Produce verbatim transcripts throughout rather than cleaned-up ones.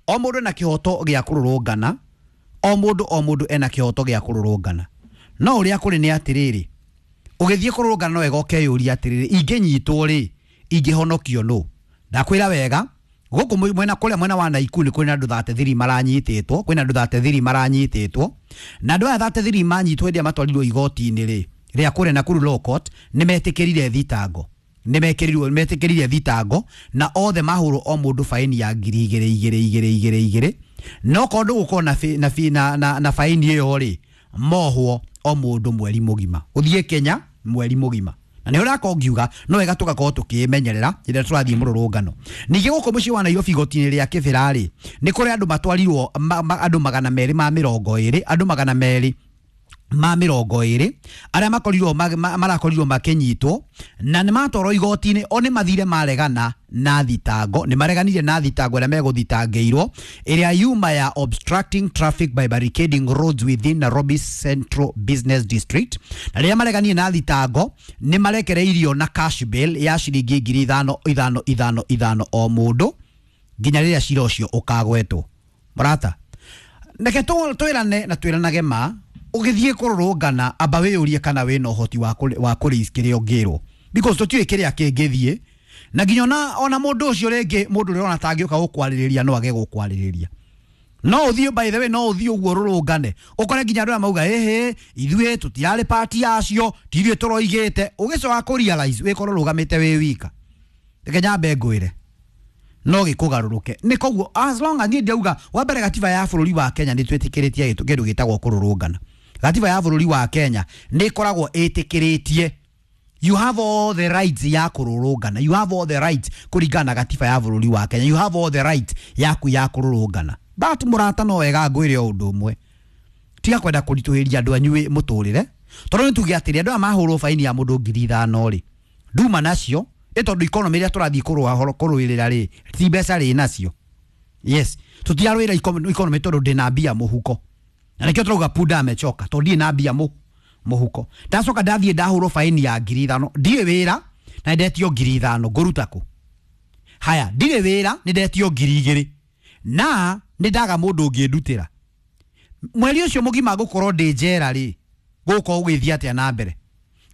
O mũndũ ena kĩhoto gĩa kũrũrũngana, o mũndũ o mũndũ ena kĩhoto gĩa kũrũrũngana. No ũrĩa kũrĩ nĩ atĩrĩrĩ, ũgĩthiĩ kũrũrũngana no wega ũkeyũria atĩrĩrĩ, ingĩnyitwo rĩ, ingĩhonokio nũ? Ndakwĩra wega, gũkũ mwena kũrĩa mwena wa Naikuru nĩ kwĩna andũ thirty-three maranyitĩtwo, kwĩna andũ thirty-three maranyitĩtwo, na andũ aya thirty-three manyitwo hĩndĩ ĩrĩa matwarirwo igoti-inĩ rĩ, rĩa kũrĩa Nakuru Law Court, nĩ metĩkĩrire thitango. Nĩ mekĩrirwo, metĩkĩrire thitango na othe mahũrwo o mũndũ faini ya ngiri igĩrĩ igĩrĩ igĩrĩ igĩrĩ igĩrĩ. No korwo ndũgũkorwo na fi-, na fi-, na, na, na faini ĩyo rĩ, mohwo o mũndũ mweri mũgima. Ũthiĩ Kenya mweri mũgima. Na nĩ ũrakorwo ngiuga no wega tũgakorwo tũkĩmenyerera rĩrĩa tũrathiĩ mũrũrũngano. Ningĩ gũkũ mũciĩ wa Nairobi igoti-inĩ rĩa Kĩbĩra rĩ, nĩ kũrĩ andũ matwarirwo, ma, ma, andũ magana merĩ ma mĩrongo ĩrĩ, andũ magana merĩ ma mĩrongo ĩrĩ arĩa makorirwo ma-, ma-, marakorirwo makĩnyitwo na nĩ matwarwo igoti-inĩ. O nĩ mathire maregana na thitango, nĩ mareganire na thitango ĩrĩa megũthitangĩirwo ĩrĩa yuma ya obstructing traffic by barricading roads within Nairobi Central Business District. Na rĩrĩa mareganire na thitango nĩ marekereirio na cash bail ya ciringi ngiri ithano ithano ithano ithano o mũndũ nginya rĩrĩa cira ũcio ũkagwetwo. Mũrata, reke tũ-, twĩrane na twĩranage ma, ũgĩthiĩ kũrũrũngana amba wĩyũrie kana wĩna ũhoti wa kũrĩ-, wa kũrĩ kĩrĩa ũngĩrwo, because tũtiũĩ kĩrĩa kĩngĩthiĩ, na nginya ona, ona mũndũ ũcio rĩngĩ mũndũ ũrĩa ũrona ta angĩũka gũkwarĩrĩria no age gũkwarĩrĩria. No ũthiĩ, by the way, no ũthiĩ ũguo ũrũrũngane ũkore nginya andũ arĩa mauga ĩhĩ ithuĩ tũtirarĩ party yacio, ti ithuĩ tũroigĩte, ũgĩcoka kũ realize wĩkorwo ũrũgamĩte wĩ wika. Reke nyambe ngwĩre no gĩkũgarũrũke. Nĩ koguo as long as niĩ ndauga wa mbere gatiba ya bũrũri wa Kenya nĩ twĩtĩkĩrĩtie kĩndũ gĩtagwo kũrũrũngana. Gatiba ya bũrũri wa Kenya nĩ ĩkoragwo ĩtĩkĩrĩtie, you have all the rights ya kũrũrũngana, you have all the rights kũringana na gatiba ya bũrũri wa Kenya, you have all the rights yaku ya kũrũrũngana. But mũrata no wega ngwĩre o ũndũ ũmwe, tiga kwenda kũritũhĩria andũ anyu mũtũrĩre, tondũ nĩ tuge atĩrĩ andũ aya mahũrwo baini ya mũndũ ngiri ithano rĩ, nduma nacio ĩ tondũ economy ĩrĩa tũrathiĩ kũrũa, kũrũĩrĩra rĩ, ti mbeca rĩ nacio. Yes, tũtirarũĩra economy tondũ ndĩna mbia mũhuko. Na nĩkĩo tũrauga punda amechoka tondũ ndirĩ na mbia mũ-, mũhuko. Ndacoka ndathiĩ ndahũrwo baini ya ngiri ithano, ndirĩ wĩra na ndetio ngiri ithano, ngũruta kũ? Haya, ndirĩ wĩra nĩ ndetio ngiri igĩrĩ na nĩ ndaga mũndũ ũngĩndutĩra. Mweri ũcio mũgima ngũkorwo ndĩ njera rĩ, gũgũkorwo gũgĩthiĩ atĩa na mbere?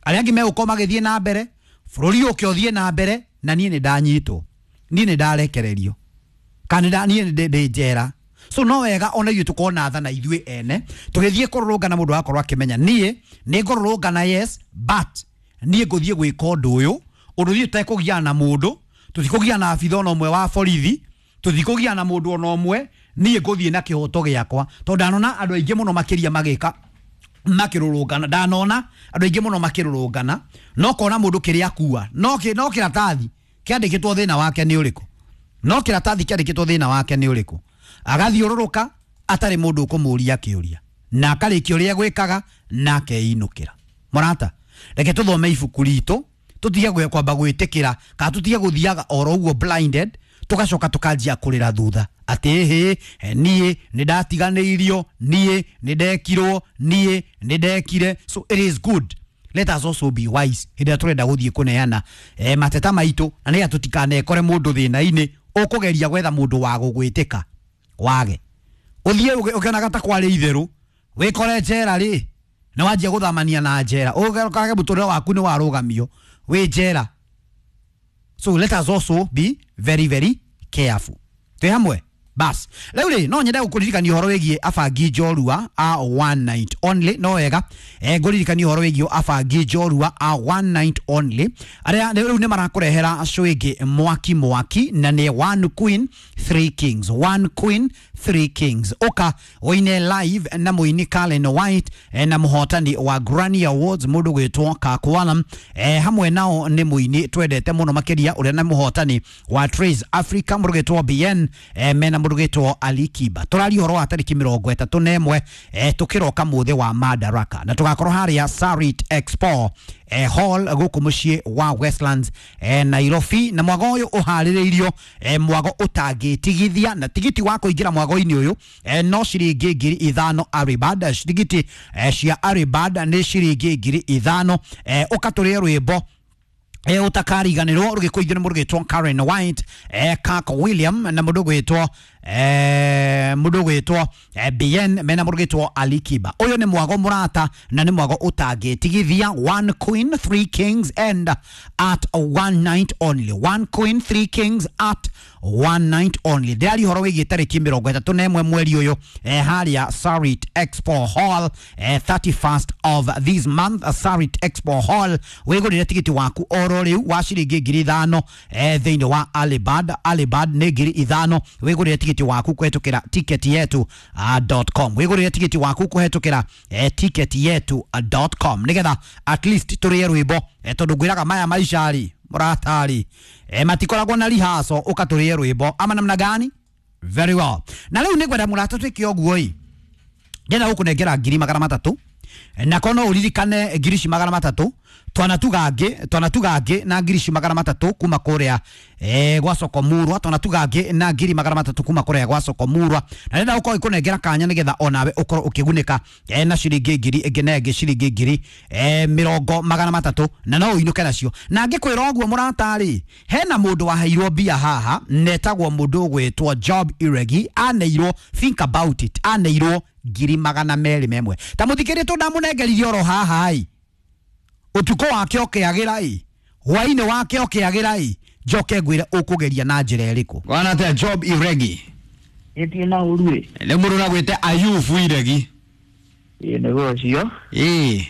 Arĩa angĩ megũkorwo magĩthiĩ na mbere, bũrũri ũke ũthiĩ na mbere, na niĩ nĩ ndanyitwo, niĩ nĩ ndarekererio, kana nĩ nda-, niĩ nĩ ndĩ njera. So no wega ona ithuĩ tũkorwo na tha na ithuĩ ene, tũgĩthiĩ kũrũrũngana mũndũ agakorwo akĩmenya niĩ nĩ ngũrũrũngana, yes, but niĩ ngũthiĩ gwĩka ũndũ ũyũ, ũndũ ithuĩ tũtekũgiana na mũndũ, tũtikũgiana na abitha ona ũmwe wa borithi, tũtikũgiana na mũndũ ona ũmwe, niĩ ngũthiĩ na kĩhoto gĩakwa. Tondũ ndanona andũ aingĩ mũno makĩria magĩka makĩrũrũngana, ndanona andũ aingĩ mũno makĩrũrũngana, no kona mũndũ kĩrĩa akua, no kĩ-, no kĩratathi kĩandĩkĩtwo thĩna wake nĩ ũrĩkũ, no kĩratathi kĩandĩkĩtwo thĩna wake nĩ ũrĩkũ, agathiũrũrũka atarĩ mũndũ ũkũmũria kĩũria, na akarĩkia ũrĩa gwĩkaga na akeinũkĩra. Mũrata, reke tũthome ibuku ritũ, tũtige gwe-, kwamba gwĩtĩkĩra kana tũtige gũthiaga oro ũguo blinded, tũgacoka tũkanjia kũrĩra thutha atĩ ĩhĩ, niĩ nĩ ndatiganĩirio, niĩ nĩ ndekirwo, niĩ nĩ ndekire. So it is good, let us also be wise hĩndĩ ĩrĩa tũrenda gũthiĩ kũneana, eh, mateta maitũ, na nĩgetha tũtikanekore mũndũ thĩna-inĩ ũkũgeria gwetha mũndũ wa gũgwĩtĩka wage ũthiĩ ũgĩ-, ũkĩonaga ta kwarĩ itherũ, wĩkore njera rĩ, nĩ wanjia gũthamania na njera, ũgekage mũtũrĩre waku nĩ warũgamio wĩ njera. So let us also be very very careful. Twĩ hamwe? Bas. Rĩu rĩ, no nyende gũkũririkania ũhoro wĩgiĩ abangi njorua a one night only. No wega, eh, ngũririkania ũhoro wĩgiĩ abangi njorua a one night only. Arĩa rĩu nĩ marakũrehera show ĩngĩ mwaki mwaki, na nĩ one queen three kings, one queen three kings. Ũka ũine live na mũini Kalen White, eh, na mũhotani wa Grammy Awards mũndũ gwĩtwo Kakwalam, eh, hamwe nao nĩ mũini twendete mũno makĩria ũrĩa na mũhotani wa Trace Africa mũndũ gwĩtwo B N, eh, mena mũndũ gwĩtwo Ali Kiba. Tũraria ũhoro wa tarĩki mĩrongo ĩtatũ na ĩmwe, eh, tũkĩroka mũthĩ wa Madaraka, na tũgakorwo harĩa Sarit Expo, eh, Hall gũkũ mũciĩ wa Westlands, eh, Nairobi. Na mwago ũyũ ũharĩrĩirio, eh, mwago ũtangĩtigithia, na tigiti wa kũingĩra mwago-inĩ ũyũ, eh, no ciringi ngiri ithano Aribad. Tigiti, eh, cia Aribad nĩ ciringi ngiri ithano. Eh, ũka tũrĩe rwĩmbo e utakariganirwo rugikuithio ni mundu gwitwo Karen White, e Kirk William na mundu gwitwo eh mundu gwitwo Bien mena mundu gwitwo Alikiba. Uyu ni mwago murata na ni mwago utangitigithia. One queen, three kings and at one night only. One queen, three kings at one night only. Ndĩraria ũhoro wĩgiĩ tarĩki mĩrongo ĩtatũ na ĩmwe mweri ũyũ eh, harĩa Sarit Expo Hall, eh, thirty-first of this month, Sarit Expo Hall. Wĩgũrĩre tigiti waku oro rĩu wa ciringi ngiri ithano eh, thĩinĩ wa Alibad. Alibad nĩ ngiri ithano. Wĩgũrĩre tigiti waku kũhetũkĩra ticket yetu dot com. Wĩgũrĩre tigiti waku kũhetũkĩra eh, ticket yetu dot com nĩgetha at least tũrĩe rwĩmbo eh, tondũ ngwĩraga maya maica rĩ mũratari eh, matikoragwo na rihaco ũkatũrĩe rwĩmbo ama namna gani? Very well. Na rĩu nĩngwenda mũrata twĩke ũguo ĩ, ndĩrenda gũkũnengera ngiri magana matatũ na kono uririkane ngiri ici magana matatũ twanatuga ngĩ twanatuga ngĩ na ngiri ici magana matatũ kuma kũrĩa eh, gwa soko murwa. Twanatuga ngĩ na ngiri magana matatũ kuma kũrĩa gwa soko murwa na ndĩrenda gũkorwo ikũnengera kanya nĩgetha onawe ũkorwo ũkĩgunĩka eh, na ciringi ngiri ĩngĩ na ĩngĩ ciringi ngiri eh, mĩrongo magana matatũ na no ũinũke nacio. Na ngĩkwĩra ũguo mũrata-rĩ, hena mũndũ waheirwo mbia haha netagwo mũndũ ũgwĩtwo Job Iregi. Aneirwo, think about it, aneirwo ngiri magana merĩ memwe. Ta mũthikĩrie tũndamũnengeririe oro haha ĩ, ũtukũ wake ũkĩagĩra ĩ, hwainĩ wake ũkĩagĩra ĩ, njoke ngwĩre ũkũgeria na njĩra ĩrĩkũ. Wana atia Job Iregi? Ĩtie na ũru ĩ. Nĩ mũndũ ũragwĩte Ayubu Iregi. Ĩ nĩguo ũcio. Ĩ.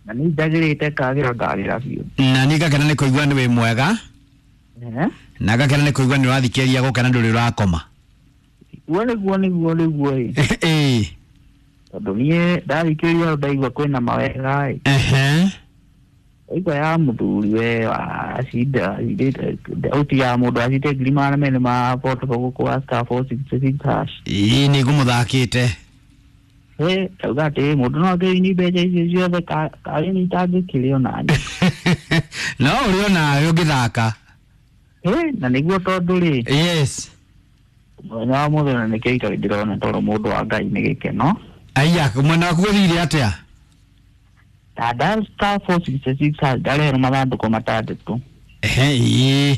Na nĩ njagĩrĩte kagĩra ngagĩra biũ. Na niĩ ngakena nĩ kũigua nĩ wĩ mwega. Na ngakena nĩ kũigua nĩ ũrathikĩrĩria gũkena ndũrĩ ũrakoma. Guo nĩguo nĩguo nĩguo ĩ. Ĩ. Tondũ niĩ ndathikĩrĩria ndaigua kwĩna mawega ĩ. Ehe. Ndaigua ya mũthuri we acinda auti ya mũndũ acinde ngiri magana merĩ ma portable gũkũ wa star four six six hash. Ĩ nĩ ngũmũthakĩte. Ĩ ndauga atĩ mũndũ no akĩini mbeca icio ciothe karĩ nĩ itangĩkĩrĩ onaniĩ. No ũrĩ onawe ũngĩthaka. Ĩ na nĩguo tondũ rĩ. Yes. Mũthenya wa mũthenya nĩkĩo itarĩ ndĩrona tondũ mũndũ wa Ngai nĩ gĩkeno. Aya, mwena waku gũthire atĩa? Nda star four six six hash ndarehero mathandũkũ matandatũ. Ehe, ĩ.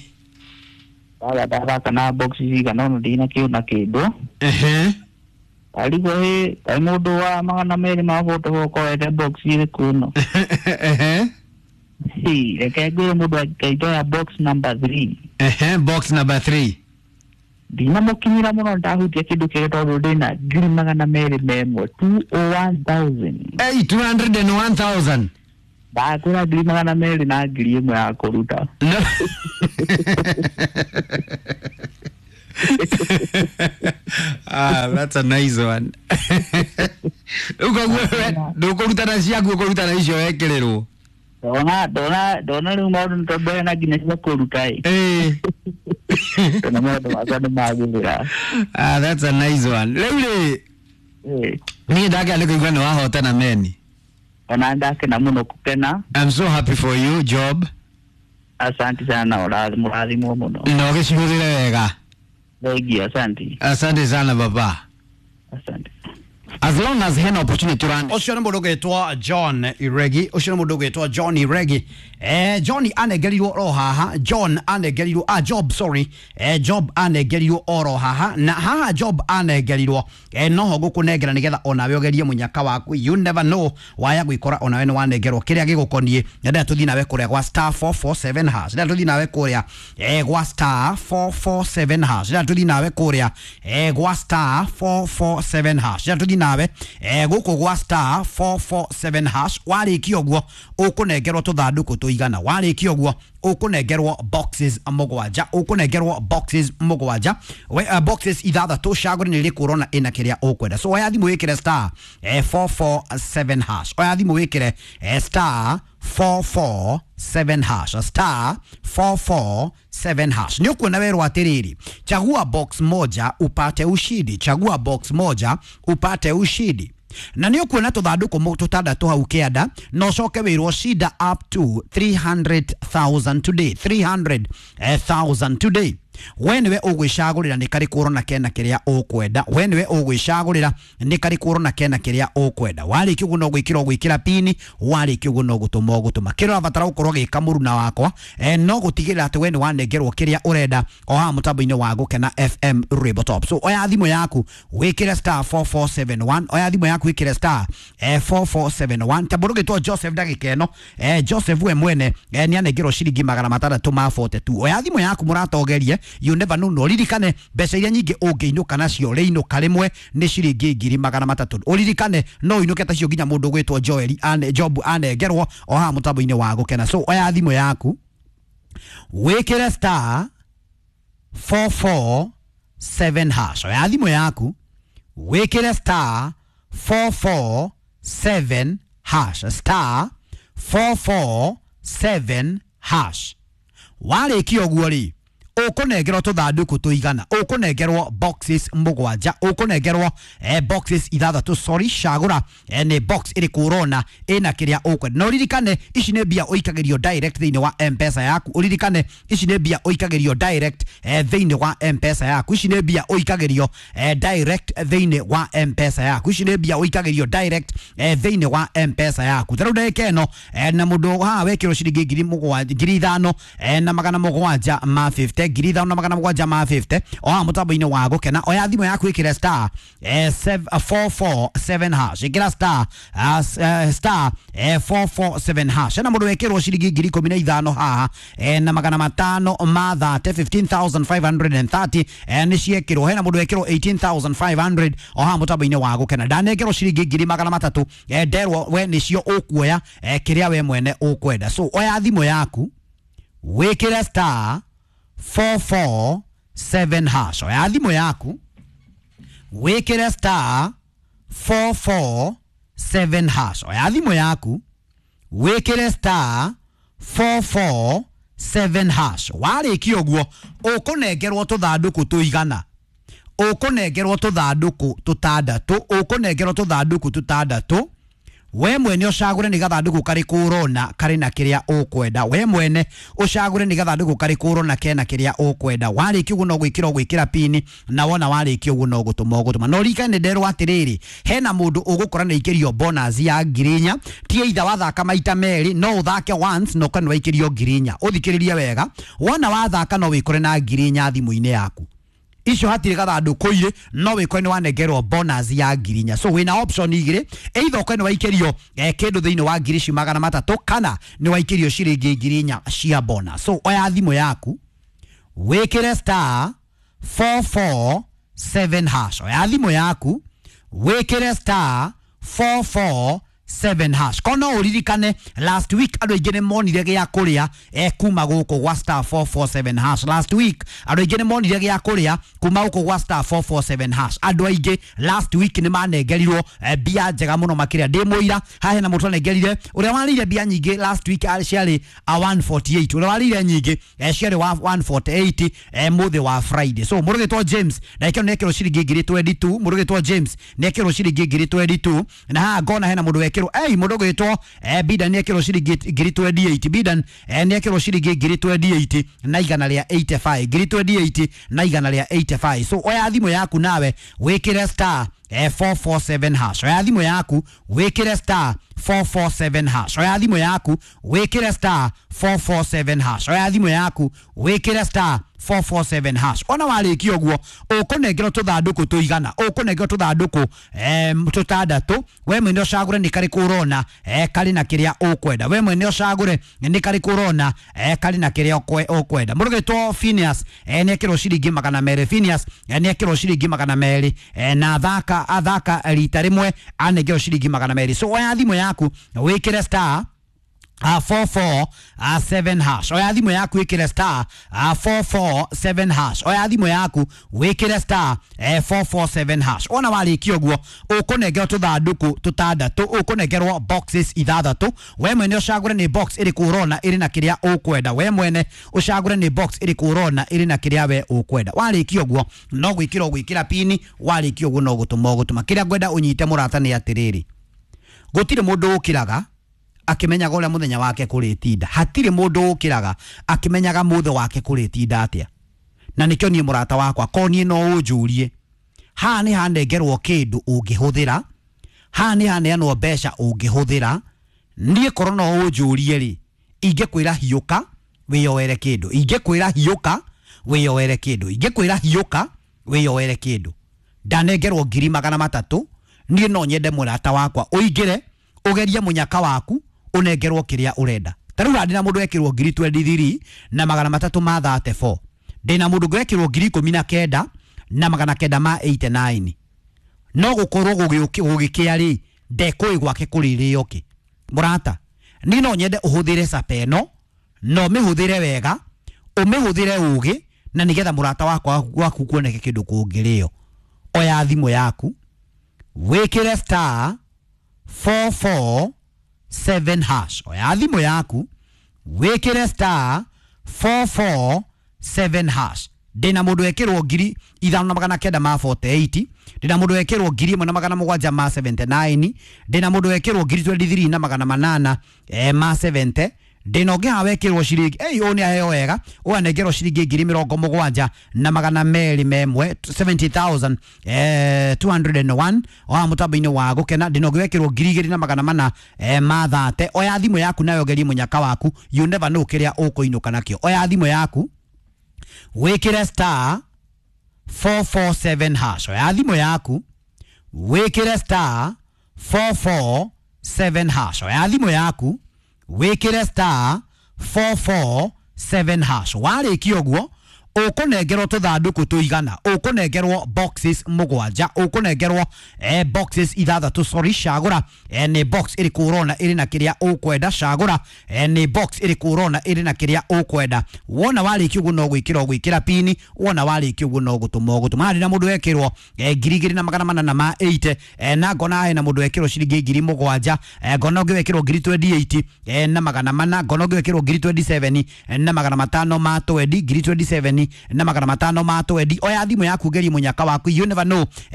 Ndaga ndathaka na box cigana ũna ndinakĩona kĩndũ. Ehe. Ndarigwo ĩ kaĩ mũndũ wa magana merĩ ma portable ũkorete box ĩrĩkũ ĩno. Ehe. Hĩ, reke ngwĩre mũndũ angĩkaitoya box number three. Ehe, box number three. Ndinamũkinyĩra mũno ndahutia kĩndũ kĩrĩa tondũ ndĩna ngiri magana merĩ memwe two oh one thousand. Hey, two hundred and one thousand. Ndakwĩra ngiri magana merĩ na ngiri ĩmwe ya kũruta. No. Ah, that's a nice one. Ukoguo ndũkũruta na ciaku ũkũruta na icio wekĩrĩrwo. Ndona ndona ndona rĩu maũndũ nĩ tondũ hena nginya cia kũruta ĩ. Ĩ. Ndona maũndũ makwa nĩ magĩrĩra. Ah, that's a nice one. Rĩu rĩ, Ĩ. niĩ ndakena nĩ kũigua nĩ wahotana meni. Ona ndakena mũno kũkena. I'm so happy for you, Job. Asante sana, mũrathimwo mũno. Na ũgĩcihũthĩre wega. Thengiũ, asante. Asante sana baba. Asante. As long as hena opportunity run. Ũcio nĩ mũndũ ũgwĩtwo John Iregi. Ũcio nĩ mũndũ ũgwĩtwo John Iregi. Eh, John anengerirwo oro haha. John anengerirwo, ah, Job, sorry. Eh, Job anengerirwo oro haha. Na haha Job anengerirwo. Eh, noho ngũkũnengera nĩgetha onawe ũgerie mũnyaka waku. You never know waya gwĩkora onawe nĩ wanengerwo kĩrĩa gĩgũkoniĩ. Ndĩrenda tũthiĩ nawe kũrĩa gwa star four four seven hash. Ndĩrenda tũthiĩ nawe kũrĩa eh, gwa star four four seven hash. Ndĩrenda tũthiĩ nawe kũrĩa eh, gwa star four four seven hash. Ndĩrenda tũthiĩ nawe eh, gũkũ gwa star four four seven hash. Warĩkia ũguo ũkũnengerwo tũthandũkũ tũigana. Warĩkia ũguo ũkũnengerwo boxes mũgwanja. Ũkũnengerwo boxes mũgwanja. We, uh, boxes ithathatũ cagũre nĩ ĩrĩkũ ũrona ĩna kĩrĩa ũkwenda. So oya thimũ wĩkĩre star eh, four four seven hash. Oya thimũ wĩkĩre eh, star four four seven hash. Star four four seven hash. Nĩ ũkuona werwo atĩrĩrĩ, chagua box moja upate ushindi. Chagua box moja upate ushindi. Na nĩ ũkuona tũthandũkũ tũtandatũ hau kĩanda na ũcoke wĩrwo shinda up to three hundred thousand today. three hundred thousand today. We nĩwe ũgwĩcagũrĩra nĩ karĩkũ ũrona kena kĩrĩa ũkwenda. We nĩwe ũgwĩcagũrĩra nĩ karĩkũ ũrona kena kĩrĩa ũkwenda. Warĩkia ũguo no gwĩkĩra ũgwĩkĩra pini, warĩkia ũguo no gũtũma ũgũtũma. Kĩrĩa ũrabatara gũkorwo gĩka mũruna wakwa eh, no gũtigĩrĩra atĩ we nĩ wanengerwo kĩrĩa ũrenda o haha mũtambo-inĩ wa Gũkena F M Rainbow Top. So oya thimũ yaku wĩkĩre star four four seven one, oya thimũ yaku wĩkĩre star eh, four four seven one. Ta mũndũ ũgĩtwo Joseph ndagĩka ĩno, eh, Joseph we mwene eh, nĩ anengerwo ciringi magana matandatũ ma forty two. Oya thimũ yaku mũrata ũgerie, you never know, no ririkane mbeca iria nyingĩ ũngĩinũka nacio rĩinũka rĩmwe nĩ ciringi ngiri magana matatũ. Ũririkane no ũinũke tacio nginya mũndũ ũgwĩtwo Joel ane, Job anengerwo o haha mũtambo-inĩ wa Gũkena. So oya thimũ yaku wĩkĩre star four four seven hash. Oya thimũ yaku wĩkĩre star four four seven hash, star four four seven hash. Warĩkia ũguo rĩ, ũkũnengerwo tũthandũkũ tũigana, ũkũnengerwo boxes mũgwanja, ũkũnengerwo eh, boxes ithathatũ, sorry, cagũra eh, nĩ box ĩrĩkũ ũrona ĩna kĩrĩa ũkwenda. Na ũririkane ici nĩ mbia ũikagĩrio direct thĩinĩ wa M-Pesa yaku. Ũririkane ici nĩ mbia ũikagĩrio direct eh, thĩinĩ wa M-Pesa yaku. Ici nĩ mbia ũikagĩrio eh, direct thĩinĩ wa M-Pesa yaku. Ici nĩ mbia ũikagĩrio direct eh, thĩinĩ wa M-Pesa yaku. Ta rĩu ndagĩka ĩno eh, na mũndũ haha wekĩrwo ciringi ngiri mũgwanja, ngiri ithano eh, na magana mũgwanja ma fifty, ngiri ithano na magana mũgwanja ma fifty o haha mũtambo-inĩ wa Gũkena. Oya thimũ yaku ĩkĩre star eh, four four seven hash, ĩkĩra star uh, star eh, four four seven hash. Na mũndũ wekĩrwo ciringi ngiri ikũmi na ithano haha eh, na magana matano ma thate, fifteen thousand five hundred and thirty eh, nĩ ciekĩrwo. Hena mũndũ wekĩrwo eighteen thousand five hundred o haha mũtambo-inĩ wa Gũkena. Ndanengerwo ciringi ngiri magana matatũ eh, nderwo we nĩcio ũkuoya eh, kĩrĩa we mwene ũkwenda. So oya thimũ yaku wĩkĩre star four four seven hash. Oya thimũ yaku wĩkĩre star four four seven hash. Oya thimũ yaku wĩkĩre star four four seven hash. Warĩkia ũguo ũkũnengerwo tũthandũkũ tũigana, ũkũnengerwo tũthandũkũ tũtandatũ, ũkũnengerwo tũthandũkũ tũtandatũ. We mwene ũcagũre nĩ gathandũkũ karĩkũ ũrona karĩ na kĩrĩa ũkwenda. We mwene ũcagũre nĩ gathandũkũ karĩkũ ũrona kena kĩrĩa ũkwenda. Warĩkia ũguo no gwĩkĩra ũgwĩkĩra pini, na wona warĩkia ũguo no gũtũma ũgũtũma. Na ũririkane nderwo atĩrĩrĩ, hena mũndũ ũgũkora nĩ aikĩrio bonus ya ngiri inya. Ti either wathaka maita merĩ, no ũthake once na ũkore nĩ waikĩrio ngiri inya. Ũthikĩrĩrie wega, wona wathaka no wĩkore na ngiri inya thimũ-inĩ yaku. Icio hatirĩ gathandũkũ irĩ, no wĩkore nĩ wanengerwo bonus ya ngiri inya. So wĩna option igĩrĩ, either ũkore nĩ waikĩrio eh, kĩndũ thĩinĩ wa ngiri ici magana matatũ, kana nĩ waikĩrio ciringi ngiri inya cia bonus. So oya thimũ yaku wĩkĩre star four four seven hash. Oya thimũ yaku wĩkĩre star four four seven hash. Kono ũririkane last week andũ aingĩ nĩ monire gĩa kũrĩa eh, kuma gũkũ gwa star four four seven hash. Last week andũ aingĩ nĩ monire gĩa kũrĩa kuma gũkũ gwa star four four seven hash. Andũ aingĩ last week nĩ manengerirwo eh, mbia njega mũno makĩria. Ndĩ mũira haha hena mũndũ anengerire ũrĩa warĩire mbia nyingĩ last week ciarĩ a one forty eight, ũrĩa warĩire nyingĩ eh, ciarĩ wa one forty eight eh, mũthĩ wa Friday. So mũndũ ũgĩtwo James na ĩkĩro nĩ ekĩrwo ciringi ngiri twenty two, mũndũ ũgĩtwo James nĩ ekĩrwo ciringi ngiri twenty two, na haha ngona hena mũndũ wekĩrwo ei mũndũ ũgwĩtwo eh, Bidan nĩ ekĩrwo ciringi ngiri twenty eight, Bidan eh, nĩ ekĩrwo ciringi ngiri twenty eight na igana rĩa eighty five, ngiri twenty eight na igana rĩa eighty five. So oya thimũ yaku nawe wĩkĩre star eh, four four seven hash. Oya thimũ yaku wĩkĩre star four four seven hash. Oya thimũ yaku wĩkĩre star four four seven hash. Oya thimũ yaku wĩkĩre star four four seven hash. Ona warĩkia ũguo ũkũnengerwo tũthandũkũ tũigana, ũkũnengerwo tũthandũkũ eh, tũtandatũ. We mwene ũcagũre nĩ karĩkũ ũrona eh, karĩ na kĩrĩa ũkwenda. We mwene ũcagũre nĩ karĩkũ ũrona eh, karĩ na kĩrĩa ũkwenda. Mũndũ ũgwĩtwo Phineas eh, nĩ ekĩrwo ciringi magana merĩ. Phineas eh, nĩ ekĩrwo ciringi magana merĩ eh, na athaka athaka rita rĩmwe anengerwo ciringi magana merĩ. So oya thimũ yaku wĩkĩre star Uh, four four seven hash. Oya thimũ yaku wĩkĩre star uh, four four seven hash. Oya thimũ yaku wĩkĩre star eh, four four seven hash. Ona warĩkia ũguo ũkũnengerwo tũthandũkũ tũtandatũ, ũkũnengerwo boxes ithathatũ. We mwene ũcagũre nĩ box ĩrĩkũ ũrona ĩrĩ na kĩrĩa ũkwenda. We mwene ũcagũre nĩ box ĩrĩkũ ũrona ĩrĩ na kĩrĩa we ũkwenda. Warĩkia ũguo no gwĩkĩra ũgwĩkĩra pini, warĩkia ũguo no gũtũma ũgũtũma. Kĩrĩa ngwenda ũnyite mũrata nĩ atĩrĩrĩ, gũtirĩ mũndũ ũkĩraga akimenyaga ũrĩa mũthenya wake kũrĩtinda. Hatirĩ mũndũ ũkĩraga akimenyaga mũthĩ wake kũrĩtinda atĩa. Na nĩkĩo niĩ mũrata wakwa ko niĩ no ũnjũrie haha nĩ hanengerwo kĩndũ ũngĩhũthĩra, haha nĩ haneanwo mbeca ũngĩhũthĩra. Niĩ korwo no ũnjũrie rĩ, ingĩkwĩra hiũka wĩyoere kĩndũ, ingĩkwĩra hiũka wĩyoere kĩndũ, ingĩkwĩra hiũka wĩyoere kĩndũ. Ndanengerwo ngiri magana matatũ, niĩ no nyende mũrata wakwa ũingĩre ũgerie mũnyaka waku ũnengerwo kĩrĩa ũrenda. Ta rĩu ndĩna mũndũ wekĩrwo ngiri twenty-three na magana matatũ ma thirty-four, ndĩna mũndũ ũngĩ wekĩrwo ngiri ikũmi na kenda na magana kenda ma eighty-nine. No gũkorwo gũgĩkĩa rĩ, ndekũĩ gwake kũrĩrĩo kĩ. Mũrata, niĩ no nyende ũhũthĩre sapa ĩno, na ũmĩhũthĩre wega, ũmĩhũthĩre ũgĩ, na nĩgetha mũrata wakwa waku kuoneke kĩndũ kũngĩrĩo. Oya thimũ yaku wĩkĩre star four four seven hash. Oya thimũ yaku wĩkĩre star four four seven hash. Ndĩna mũndũ wekĩrwo ngiri ithano na magana kenda ma forty-eight, ndĩna mũndũ wekĩrwo ngiri ĩmwe na magana mũgwanja ma seventy-nine, ndĩna mũndũ wekĩrwo ngiri twenty-three na magana manana eh, ma seventy, ndĩna ũngĩ haha wekĩrwo ciringi ei ũyũ nĩ aheo wega, ũyũ anengerwo ciringi ngiri mĩrongo mũgwanja na magana merĩ memwe seventy thousand eh, two hundred and one o haha mũtambo-inĩ wa gũkena. Ndĩna ũngĩ wekĩrwo ngiri igĩrĩ na magana mana eh, ma thate. Oya thimũ yaku nayo ũgerie mũnyaka waku, you never know kĩrĩa ũkũinũka nakĩo. Oya thimũ yaku wĩkĩre star four four seven hash. Oya thimũ yaku wĩkĩre star four four seven hash. Oya thimũ yaku wĩkĩre star four four seven hash. Warĩkia ũguo ũkũnengerwo tũthandũkũ tũigana, ũkũnengerwo boxes mũgwanja, ũkũnengerwo eh, boxes ithathatũ, sorry, cagũra eh, nĩ box ĩrĩkũ ũrona ĩrĩ na kĩrĩa ũkwenda, cagũra eh, nĩ box ĩrĩkũ ũrona ĩrĩ na kĩrĩa ũkwenda. Wona warĩkia ũguo no gwĩkĩra ũgwĩkĩra pini, wona warĩkia ũguo no gũtũma ũgũtũma. Harĩ na mũndũ wekĩrwo eh, ngiri igĩrĩ na magana manana ma eight, eh, na ngona hena mũndũ wekĩrwo ciringi ngiri mũgwanja, eh, ngona ũngĩ wekĩrwo ngiri twenty-eight eh, na magana mana, ngona ũngĩ wekĩrwo ngiri twenty-seven eh, na magana matano ma twenty, ngiri twenty-seven na magana matano ma twenty. Oya thimũ yaku gerie mũnyaka waku, you never know.